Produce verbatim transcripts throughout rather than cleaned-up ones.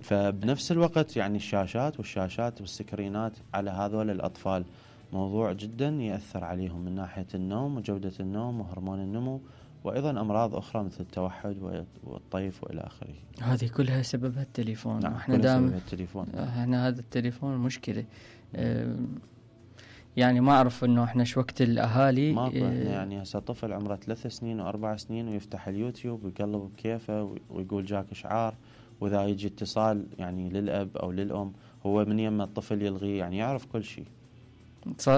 فبنفس الوقت يعني الشاشات والشاشات والسكرينات على هذول الأطفال موضوع جدا يأثر عليهم من ناحية النوم وجودة النوم وهرمون النمو، وأيضا أمراض أخرى مثل التوحد والطيف وإلى آخره. هذه كلها سببها التليفون. نعم، احنا كلها دام سببها التليفون. احنا هذا التليفون مشكلة. اه يعني ما أعرف إنه احنا شو وقت الأهالي. ماكو اه احنا يعني هسه طفل عمره ثلاث سنين وأربع سنين ويفتح اليوتيوب ويقلب بكيفه ويقول جاك إشعار، وإذا يجي اتصال يعني للأب أو للأم هو من يم الطفل يلغي، يعني يعرف كل شيء.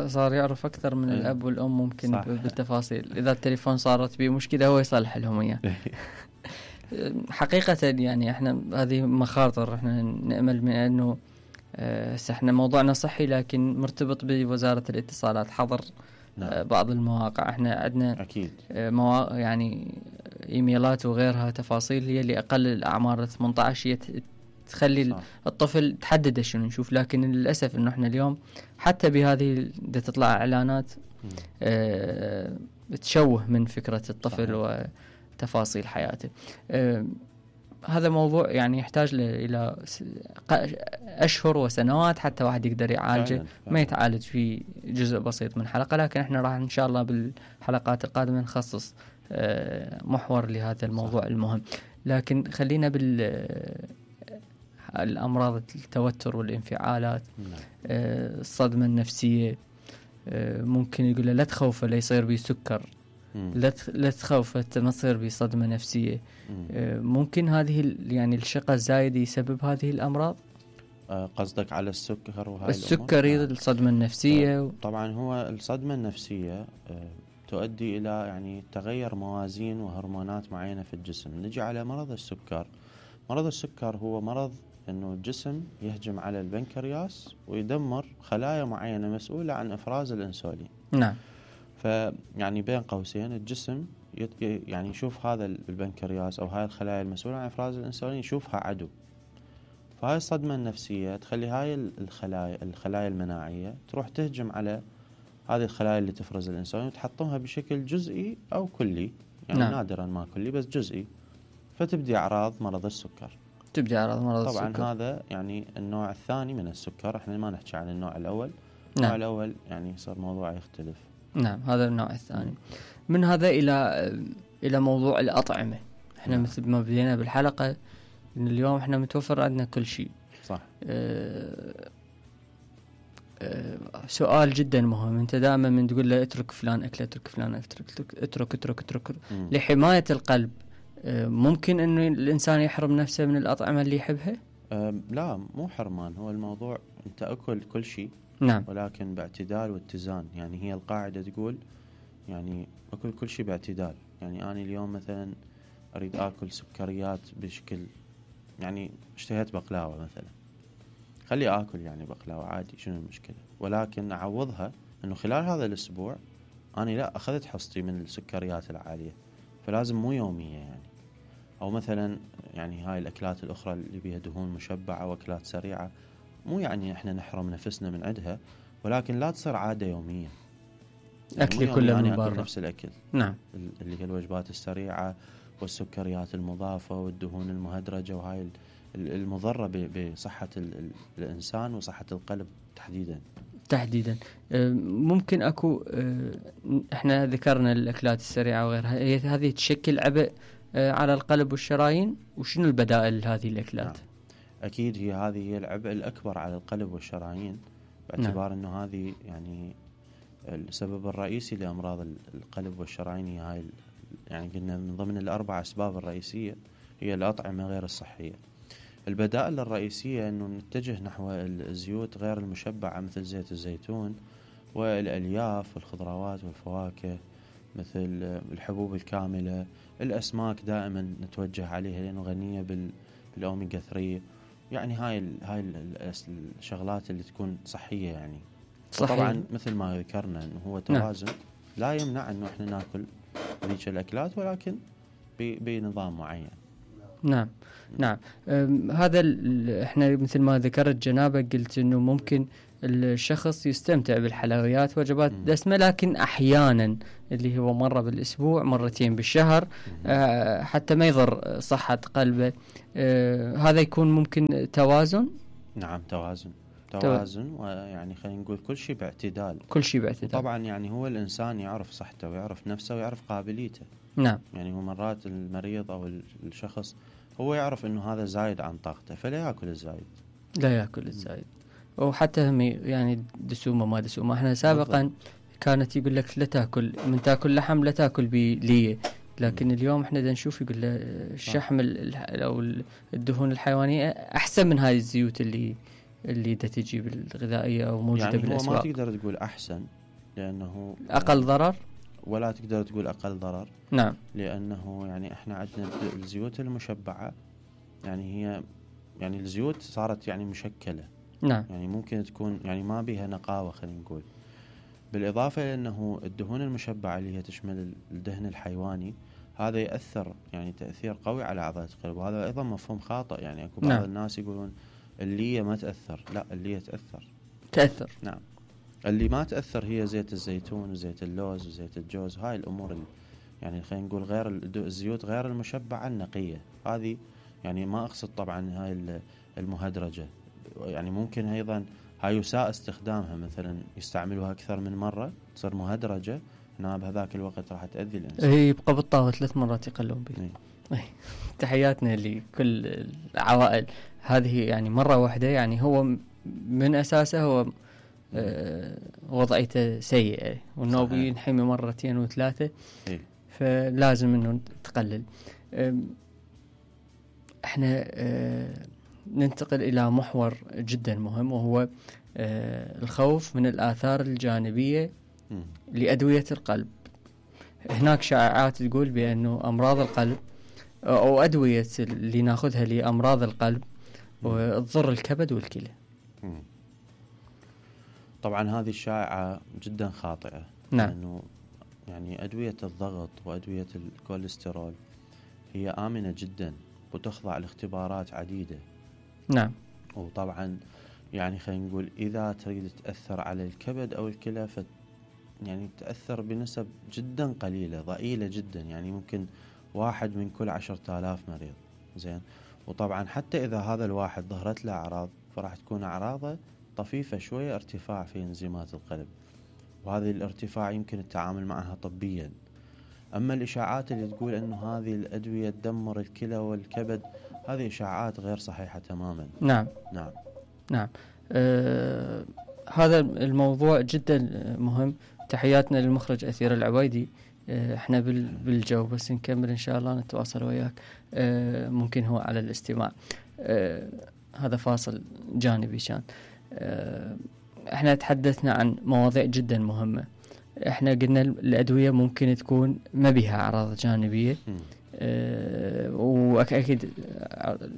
صار يعرف أكثر من ايه. الأب والأم ممكن صح. بالتفاصيل. إذا التليفون صارت به مشكلة هو يصلح لهم إياه. حقيقة يعني احنا هذه مخاطر احنا نأمل من أنه اه احنا موضوعنا صحي لكن مرتبط بوزارة الاتصالات. حظر نعم. اه بعض المواقع. احنا عندنا أكيد اه مواقع يعني ايميلات وغيرها تفاصيل هي اللي أقل الأعمار ثمانية عشر تخلي صح. الطفل تحدد شنو نشوف. لكن للأسف إنه إحنا اليوم حتى بهذه دا تطلع إعلانات آه تشوه من فكرة الطفل صحيح. وتفاصيل حياته. آه هذا موضوع يعني يحتاج إلى أشهر وسنوات حتى واحد يقدر يعالجه. فعلا. فعلا. ما يتعالج في جزء بسيط من حلقة، لكن إحنا راح إن شاء الله بالحلقات القادمة نخصص آه محور لهذا الموضوع صح. المهم. لكن خلينا بال الأمراض التوتر والانفعالات. آه الصدمة النفسية. آه ممكن يقول له لا تخوفه لا يصير بي سكر، لا لا تخوفه ما تصير بي صدمة نفسية. آه ممكن هذه يعني الشقة الزايدة يسبب هذه الأمراض. آه قصدك على السكر وهاي السكر هي الصدمة النفسية. آه طبعا هو الصدمة النفسية آه تؤدي إلى يعني تغير موازين وهرمونات معينة في الجسم. نجي على مرض السكر. مرض السكر هو مرض أنه الجسم يهجم على البنكرياس ويدمر خلايا معينة مسؤولة عن إفراز الأنسولين. نعم. فيعني بين قوسين الجسم يعني يشوف هذا البنكرياس أو هاي الخلايا المسؤولة عن إفراز الأنسولين يشوفها عدو. فهاي الصدمة النفسية تخلي هاي الخلايا الخلايا المناعية تروح تهجم على هذه الخلايا اللي تفرز الأنسولين وتحطمها بشكل جزئي أو كلي، يعني نعم. نادرا ما كلي بس جزئي، فتبدي أعراض مرض السكر. تبدي أعراض مرض طبعا السكر. طبعا هذا يعني النوع الثاني من السكر. احنا ما نحكي عن النوع الأول. نعم. النوع الأول يعني صار موضوع يختلف. نعم هذا النوع الثاني. من هذا إلى إلى موضوع الأطعمة. احنا نعم. مثل ما بدينا بالحلقة إن اليوم احنا متوفر عندنا كل شيء. صح. اه اه سؤال جدا مهم. انت دائما من تقول له اترك فلان أكل اترك فلان اترك اترك اترك, اترك. لحماية القلب ممكن انه الانسان يحرم نفسه من الاطعمه اللي يحبها؟ لا مو حرمان. هو الموضوع انت اكل كل شيء. نعم. ولكن باعتدال واتزان. يعني هي القاعده تقول يعني اكل كل شيء باعتدال. يعني انا اليوم مثلا اريد اكل سكريات بشكل يعني اشتهيت بقلاوه مثلا، خلي اكل يعني بقلاوه عادي، شنو المشكله؟ ولكن اعوضها انه خلال هذا الاسبوع انا لا اخذت حصتي من السكريات العاليه، فلازم مو يوميه يعني. أو مثلا يعني هاي الأكلات الأخرى اللي بيها دهون مشبعة وأكلات سريعة مو يعني إحنا نحرم نفسنا من عندها، ولكن لا تصير عادة يومية. يعني أكلي كله من برا. نفس الأكل. نعم. اللي هي الوجبات السريعة والسكريات المضافة والدهون المهدرجة وهاي المضرة بصحة الإنسان وصحة القلب تحديدا. تحديدا. ممكن أكو إحنا ذكرنا الأكلات السريعة وغيرها، هذه تشكل عبء على القلب والشرايين، وشنو البدائل هذه الأكلات؟ نعم. أكيد هي هذه هي العبء الأكبر على القلب والشرايين، باعتبار نعم. أنه هذه يعني السبب الرئيسي لأمراض القلب والشرايين. هي هاي يعني قلنا من ضمن الأربع أسباب الرئيسية هي الأطعمة غير الصحية. البدائل الرئيسية أنه نتجه نحو الزيوت غير المشبعة مثل زيت الزيتون والألياف والخضروات والفواكه مثل الحبوب الكاملة. الأسماك دائما نتوجه عليها لأنه غنية بالأوميغا ثلاثة. يعني هاي هاي الشغلات اللي تكون صحية يعني. صحيح. طبعا مثل ما ذكرنا إنه هو توازن. نعم. لا يمنع إنه إحنا نأكل ذيك الأكلات ولكن بنظام معين. نعم نعم. هذا احنا مثل ما ذكرت جنابك قلت إنه ممكن الشخص يستمتع بالحلويات وجبات دسمة، لكن أحيانا اللي هو مرة بالأسبوع مرتين بالشهر آه حتى ما يضر صحة قلبه. آه هذا يكون ممكن توازن. نعم توازن توازن ويعني خلينا نقول كل شيء باعتدال. كل شيء باعتدال. طبعا يعني هو الإنسان يعرف صحته ويعرف نفسه ويعرف قابليته. نعم. يعني هو مرات المريض أو الشخص هو يعرف إنه هذا زايد عن طاقته فلا يأكل الزايد. لا يأكل الزايد. وحتى هم يعني دسومة ما دسومة. احنا سابقا بالضبط. كانت يقول لك لا تأكل من تأكل لحم لا تأكل بليه، لكن م. اليوم احنا دا نشوف يقول له الشحم أو الدهون الحيوانية أحسن من هذه الزيوت اللي اللي دا تجي بالغذائية أو موجودة يعني بالأسواق. هو ما تقدر تقول أحسن لأنه أقل ضرر، ولا تقدر تقول أقل ضرر. نعم. لأنه يعني احنا عندنا الزيوت المشبعة يعني هي يعني الزيوت صارت يعني مشكلة. نعم. يعني ممكن تكون يعني ما بيها نقاوة خلينا نقول. بالإضافة لأنه الدهون المشبعة اللي هي تشمل الدهن الحيواني هذا يأثر يعني تأثير قوي على عضلة القلب، وهذا أيضا مفهوم خاطئ. يعني أكو بعض نعم. الناس يقولون اللي ما تأثر، لا اللي تأثر تأثر. نعم. اللي ما تأثر هي زيت الزيتون وزيت اللوز وزيت الجوز، هاي الأمور اللي يعني خلينا نقول غير الزيوت غير المشبعة النقية هذه. يعني ما أقصد طبعا هاي المهدرجة، يعني ممكن أيضا هاي يساء استخدامها، مثلا يستعملوها أكثر من مرة تصير مهدرجة، هنا بهذاك الوقت راح تأذي الإنسان. هي يبقى بالطاوة ثلاث مرات يقلون به. تحياتنا لكل العوائل هذه، يعني مرة واحدة يعني هو من أساسه هو آه وضعيته سيئة، وإنه بينحمي مرتين وثلاثة إيه؟ فلازم إنه تقلل. احنا آه ننتقل إلى محور جدا مهم، وهو آه الخوف من الآثار الجانبية م. لأدوية القلب. هناك شائعات تقول بأنه أمراض القلب أو أدوية اللي ناخذها لأمراض القلب وتضر الكبد والكلى. م. طبعا هذه الشائعة جدا خاطئة. نعم. لأنه يعني أدوية الضغط وأدوية الكوليسترول هي آمنة جدا وتخضع لاختبارات عديدة. نعم. وطبعا يعني خلينا نقول إذا تريد تأثر على الكبد أو الكلى ف يعني تأثر بنسب جدا قليلة ضئيلة جدا، يعني ممكن واحد من كل عشرة آلاف مريض. زين. وطبعا حتى إذا هذا الواحد ظهرت له أعراض فراح تكون أعراضه طفيفة شوية، ارتفاع في انزيمات القلب، وهذه الارتفاع يمكن التعامل معها طبيا. أما الإشاعات اللي تقول أنه هذه الأدوية تدمر الكلى والكبد هذه إشاعات غير صحيحة تماما. نعم. نعم. نعم. آه هذا الموضوع جدا مهم. تحياتنا للمخرج أثير العبيدي. آه احنا بالجو بس نكمل إن شاء الله نتواصل وياك. آه ممكن هو على الاستماع. آه هذا فاصل جانبي شان. آه احنا تحدثنا عن مواضيع جدا مهمة. احنا قلنا الأدوية ممكن تكون ما بها أعراض جانبية أه وأكيد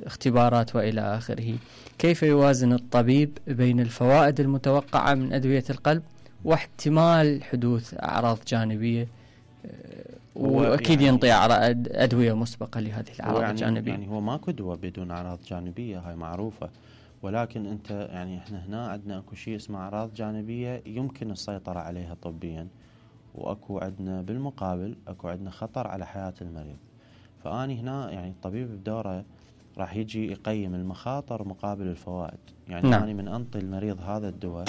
اختبارات وإلى آخره. كيف يوازن الطبيب بين الفوائد المتوقعة من أدوية القلب واحتمال حدوث أعراض جانبية أه وأكيد يعني ينطي أدوية مسبقة لهذه الأعراض يعني الجانبية؟ يعني هو ماكو دواء بدون أعراض جانبية، هاي معروفة. ولكن أنت يعني إحنا هنا عندنا أكو شيء اسمه أعراض جانبية يمكن السيطرة عليها طبيا، وأكو عندنا بالمقابل أكو عندنا خطر على حياة المريض. فأني هنا يعني الطبيب بدوره راح يجي يقيم المخاطر مقابل الفوائد. يعني نعم. أنا من أنطي المريض هذا الدواء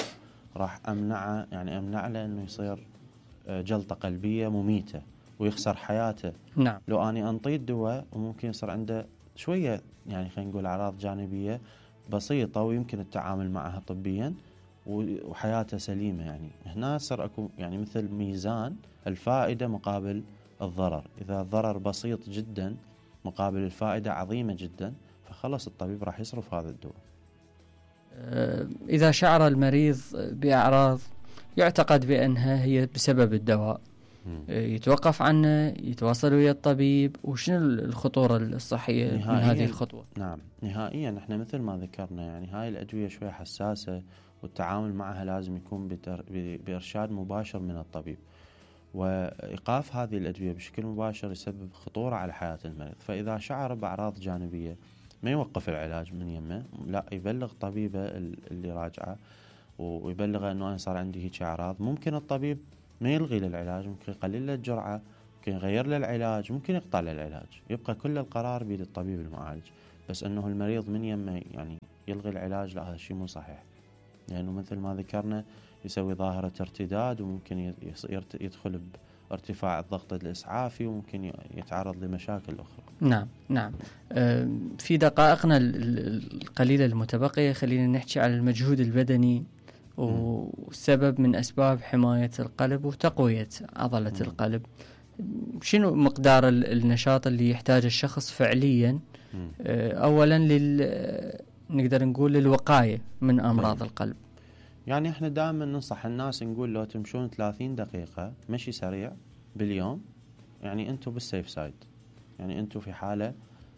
راح أمنعه، يعني أمنع له أنه يصير جلطة قلبية مميتة ويخسر حياته. نعم. لو أني أنطيه الدواء وممكن يصير عنده شوية يعني خلينا نقول أعراض جانبية بسيطة ويمكن التعامل معها طبيا وحياته سليمة. يعني هنا صار أكو يعني مثل ميزان الفائدة مقابل الضرر. إذا الضرر بسيط جدا مقابل الفائدة عظيمة جدا فخلص الطبيب راح يصرف هذا الدواء. إذا شعر المريض بأعراض يعتقد بأنها هي بسبب الدواء يتوقف عنه، يتواصل ويا الطبيب، وشنو الخطورة الصحية من هذه الخطوة؟ نعم نهائيا. احنا مثل ما ذكرنا يعني هاي الأدوية شوية حساسة والتعامل معها لازم يكون بإرشاد مباشر من الطبيب، وإيقاف هذه الأدوية بشكل مباشر يسبب خطورة على حياة المريض. فإذا شعر بأعراض جانبية ما يوقف العلاج من يمه، لا يبلغ طبيبه اللي راجعه ويبلغه انه انا صار عندي هيك اعراض، ممكن الطبيب ما يلغي له العلاج، ممكن يقلل له الجرعه، ممكن يغير له العلاج، ممكن يقطع له العلاج، يبقى كل القرار بيد الطبيب المعالج. بس انه المريض من يمه يعني يلغي العلاج، لا، هذا الشيء مو صحيح، لانه يعني مثل ما ذكرنا يسوي ظاهره ارتداد، وممكن يدخل بارتفاع الضغط الاسعافي، وممكن يتعرض لمشاكل اخرى. نعم نعم. في دقائقنا القليله المتبقيه خلينا نحكي على المجهود البدني وسبب من أسباب حماية القلب وتقوية عضلة م. القلب. شنو مقدار النشاط اللي يحتاجه الشخص فعليا؟ م. أولا لل نقدر نقول للوقاية من أمراض م. القلب. يعني احنا دائما ننصح الناس نقول لو تمشون ثلاثين دقيقة مشي سريع باليوم، يعني انتم بالسيف سايد، يعني انتم في حالة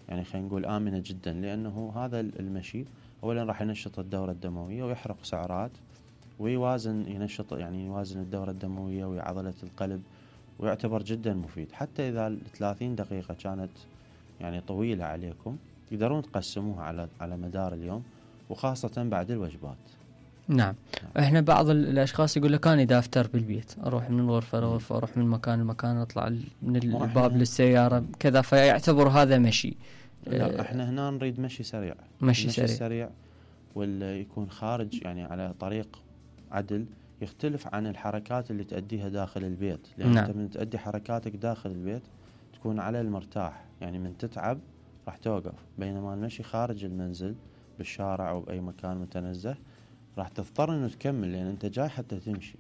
يعني خلينا نقول آمنة جدا، لأنه هذا المشي أولا راح ينشط الدورة الدموية ويحرق سعرات ويوازن ينشط يعني يوازن الدورة الدموية وعضلة القلب، ويعتبر جدا مفيد. حتى إذا ثلاثين دقيقة كانت يعني طويلة عليكم، يقدرون تقسموها على على مدار اليوم، وخاصة بعد الوجبات. نعم. نعم. احنا بعض الاشخاص يقول لك انا اذا افطر بالبيت اروح من الغرفة لغرفة، اروح من مكان لمكان، اطلع من الباب للسيارة كذا، فيعتبر هذا مشي. لا، احنا هنا نريد مشي سريع، مشي, مشي سريع. سريع واللي يكون خارج يعني على طريق عدل، يختلف عن الحركات اللي تأديها داخل البيت، لأن نعم. أنت من تأدي حركاتك داخل البيت تكون على المرتاح، يعني من تتعب راح توقف، بينما المشي خارج المنزل بالشارع أو بأي مكان متنزه راح تضطر إنه تكمل، لأن أنت جاي حتى تمشي.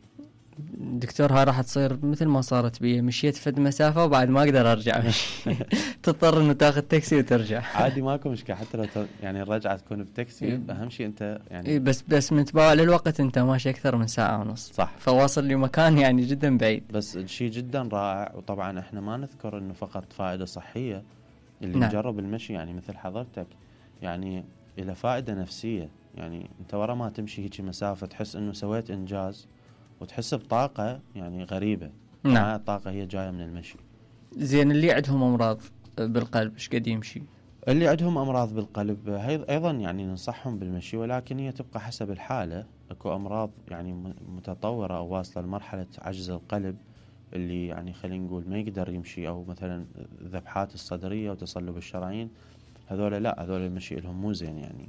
دكتور ها راح تصير مثل ما صارت بي، مشيت فد مسافة وبعد ما أقدر أرجع مشي تضطر إنه تاخذ تاكسي وترجع. عادي ماكو مشكلة، حتى لو يعني الرجعة تكون بتاكسي، أهم شيء أنت يعني إيه بس بس متباع للوقت أنت ماشي أكثر من ساعة ونص، صح، فواصل لمكان يعني جدا بعيد. بس الشيء جدا رائع. وطبعا إحنا ما نذكر إنه فقط فائدة صحية، اللي نعم. نجرب المشي يعني مثل حضرتك يعني إلى فائدة نفسية، يعني أنت ورا ما تمشي هيك مسافة تحس إنه سويت إنجاز، وتحس بطاقة يعني غريبة. نعم. هاي الطاقة هي جاية من المشي. زين، اللي عندهم أمراض بالقلب إيش قد يمشي؟ اللي عندهم أمراض بالقلب أيضا يعني ننصحهم بالمشي، ولكن هي تبقى حسب الحالة. أكو أمراض يعني متطورة أو واصلة لمرحلة عجز القلب، اللي يعني خلينا نقول ما يقدر يمشي، أو مثلا الذبحات الصدرية وتصلب الشرايين، هذول لا، هذول المشي لهم مو زين يعني.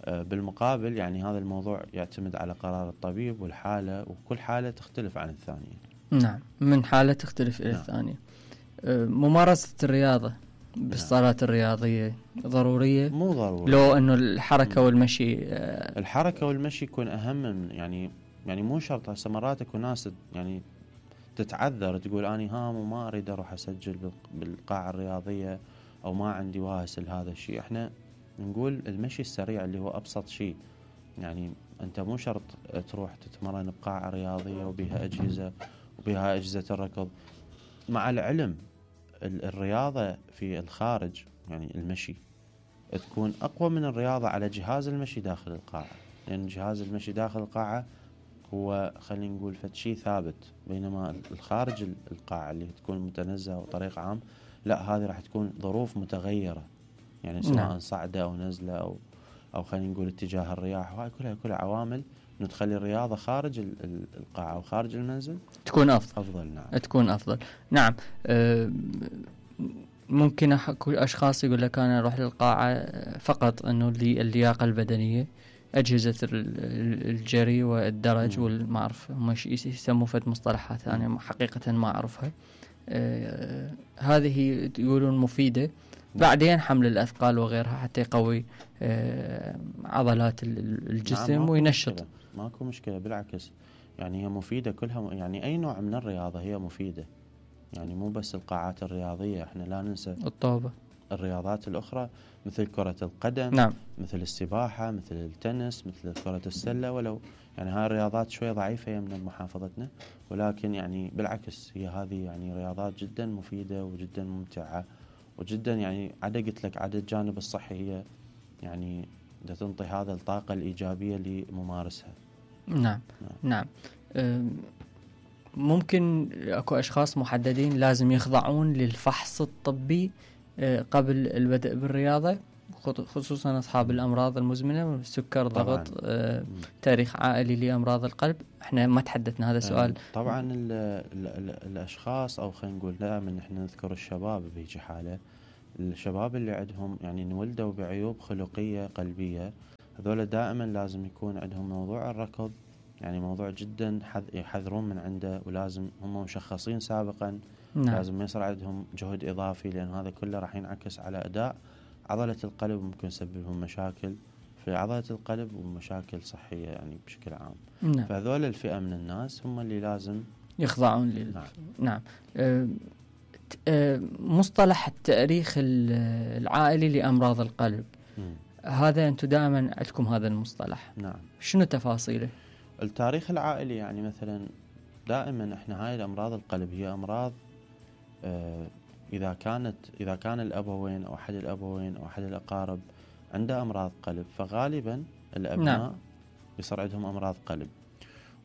بالمقابل يعني هذا الموضوع يعتمد على قرار الطبيب والحالة، وكل حالة تختلف عن الثانية. نعم، من حالة تختلف إلى نعم. الثانية. ممارسة الرياضة بالصالات نعم. الرياضية ضرورية؟ مو ضروري، لو أنه الحركة والمشي الحركة والمشي يكون أهم من يعني يعني مو شرط. هسه مرات اكو ناس يعني تتعذر تقول أني هام وما أريد أروح أسجل بالقاعة الرياضية، أو ما عندي واهس لهذا الشيء. إحنا نقول المشي السريع اللي هو أبسط شيء، يعني أنت مو شرط تروح تتمرن بقاعة رياضية وبها أجهزة وبها أجهزة الركض. مع العلم الرياضة في الخارج يعني المشي تكون أقوى من الرياضة على جهاز المشي داخل القاعة، لأن جهاز المشي داخل القاعة هو خلينا نقول فد شيء ثابت، بينما الخارج القاعة اللي تكون متنزهة وطريق عام لا، هذه راح تكون ظروف متغيرة، يعني سواء نعم. صعدة أو نزلة أو أو خلينا نقول اتجاه الرياح، وهاي كلها كلها عوامل إنه تخلي الرياضة خارج القاعة أو خارج المنزل تكون أفضل. أفضل نعم. تكون أفضل نعم. أه ممكن أشخاص يقول لك أنا أروح للقاعة فقط إنه اللياقة البدنية، أجهزة الجري والدرج والما أعرف هم يسموا فد مصطلحات أنا يعني حقيقة ما أعرفها. أه هذه يقولون مفيدة. بعدين حمل الأثقال وغيرها حتى يقوي أه عضلات الجسم نعم. وينشط. مشكلة. ماكو مشكلة، بالعكس يعني هي مفيدة كلها، يعني أي نوع من الرياضة هي مفيدة، يعني مو بس القاعات الرياضية. احنا لا ننسى الطوبة، الرياضات الأخرى مثل كرة القدم نعم. مثل السباحة، مثل التنس، مثل كرة السلة، ولو يعني هاي الرياضات شوية ضعيفة من محافظتنا، ولكن يعني بالعكس هي هذه يعني رياضات جدا مفيدة وجدا ممتعة وجدا يعني عدا قلت لك عدا الجانب الصحي هي يعني دا تنطي هذا الطاقة الإيجابية لممارسها. نعم نعم, نعم. ممكن اكو اشخاص محددين لازم يخضعون للفحص الطبي قبل البدء بالرياضة، خصوصا أصحاب الأمراض المزمنة، السكر، ضغط، آه، تاريخ عائلي لأمراض القلب. احنا ما تحدثنا، هذا سؤال. طبعا ال ال ال الأشخاص، أو خلينا نقول دائما احنا نذكر الشباب بهيجي حالة، الشباب اللي عندهم يعني انولدوا بعيوب خلقية قلبية، هذول دائما لازم يكون عندهم موضوع الركض، يعني موضوع جدا يحذرون من عنده، ولازم هم مشخصين سابقا. نعم. لازم يصير عندهم جهد إضافي، لأن هذا كله راح ينعكس على أداء عضلة القلب، وممكن يسبب لهم مشاكل في عضلة القلب ومشاكل صحية يعني بشكل عام. نعم. فهذول الفئة من الناس هم اللي لازم يخضعون لل... نعم, نعم. أه... أه... مصطلح التاريخ العائلي لأمراض القلب، م. هذا أنتم دائما عندكم هذا المصطلح. نعم. شنو تفاصيله؟ التاريخ العائلي يعني مثلا دائما احنا هاي الأمراض القلب هي أمراض أه إذا كانت إذا كان الأبوين أو أحد الأبوين أو أحد الأقارب عنده أمراض قلب، فغالبا الأبناء نعم. يصير عندهم أمراض قلب.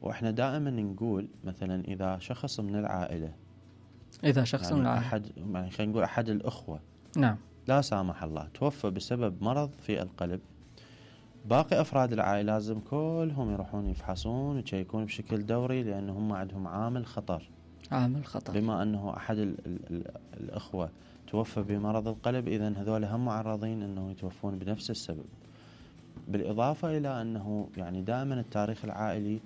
وإحنا دائما نقول مثلا إذا شخص من العائلة إذا شخص يعني من العائلة أحد يعني خلينا نقول أحد الأخوة نعم لا سامح الله توفى بسبب مرض في القلب، باقي أفراد العائلة لازم كلهم يروحون يفحصون ويشيكون بشكل دوري، لأن هم عندهم عامل خطر. عامل خطر بما أنه أحد ال ال ال الأخوة توفى بمرض القلب، إذن هذول هم معرضين أنه يتوفون بنفس السبب. بالإضافة إلى أنه يعني دائما التاريخ العائلي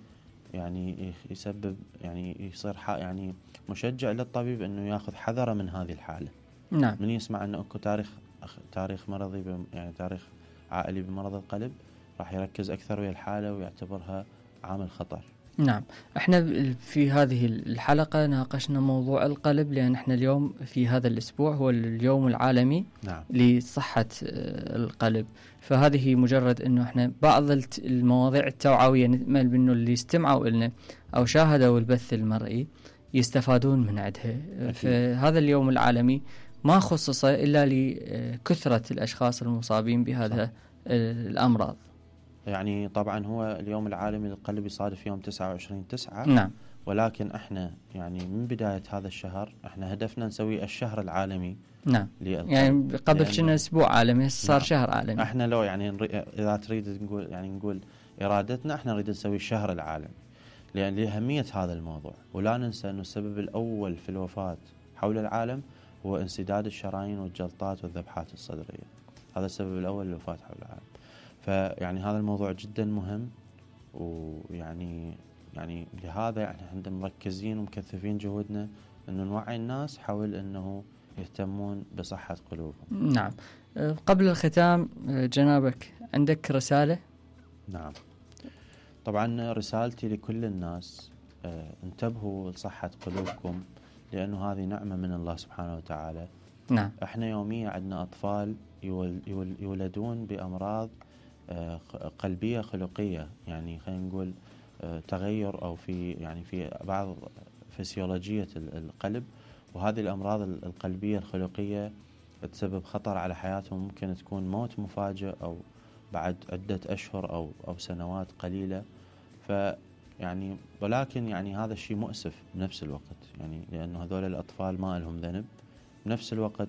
يعني يسبب يعني يصير يعني مشجع للطبيب أنه يأخذ حذره من هذه الحالة. نعم. من يسمع أنه أكو تاريخ تاريخ مرضي يعني تاريخ عائلي بمرض القلب، راح يركز أكثر ويا الحالة ويعتبرها عامل خطر. نعم. احنا في هذه الحلقة ناقشنا موضوع القلب، لأن احنا اليوم في هذا الأسبوع هو اليوم العالمي نعم. لصحة القلب، فهذه مجرد انه احنا بعض المواضيع التوعوية نأمل بانه اللي استمعوا لنا او شاهدوا البث المرئي يستفادون من عندها. فهذا اليوم العالمي ما خصص إلا لكثرة الأشخاص المصابين بهذا صح. الأمراض. يعني طبعا هو اليوم العالمي للقلب يصادف يوم تسعة وعشرين تسعة. نعم. ولكن احنا يعني من بداية هذا الشهر احنا هدفنا نسوي الشهر العالمي. نعم. يعني قبل كنا اسبوع عالمي صار نعم. شهر عالمي. احنا لو يعني اذا تريد نقول يعني نقول ارادتنا احنا نريد نسوي الشهر العالمي لان لأهمية هذا الموضوع. ولا ننسى انه السبب الاول في الوفاة حول العالم هو انسداد الشرايين والجلطات والذبحات الصدرية. هذا السبب الاول للوفاة حول العالم. فيعني هذا الموضوع جدا مهم، ويعني يعني لهذا يعني احنا مركزين ومكثفين جهودنا انه نوعي الناس حول انه يهتمون بصحة قلوبهم. نعم. قبل الختام جنابك عندك رسالة؟ نعم. طبعا رسالتي لكل الناس اه انتبهوا لصحة قلوبكم، لأنه هذه نعمة من الله سبحانه وتعالى. نعم. احنا يوميا عندنا أطفال يول يول يولدون بأمراض اه قلبية خلقية، يعني خلينا نقول اه تغير أو في يعني في بعض فسيولوجية القلب، وهذه الأمراض القلبية الخلقية تسبب خطر على حياتهم، ممكن تكون موت مفاجئ أو بعد عدة أشهر أو أو سنوات قليلة. فيعني ولكن يعني هذا الشيء مؤسف بنفس الوقت، يعني لأنه هذول الأطفال ما لهم ذنب. بنفس الوقت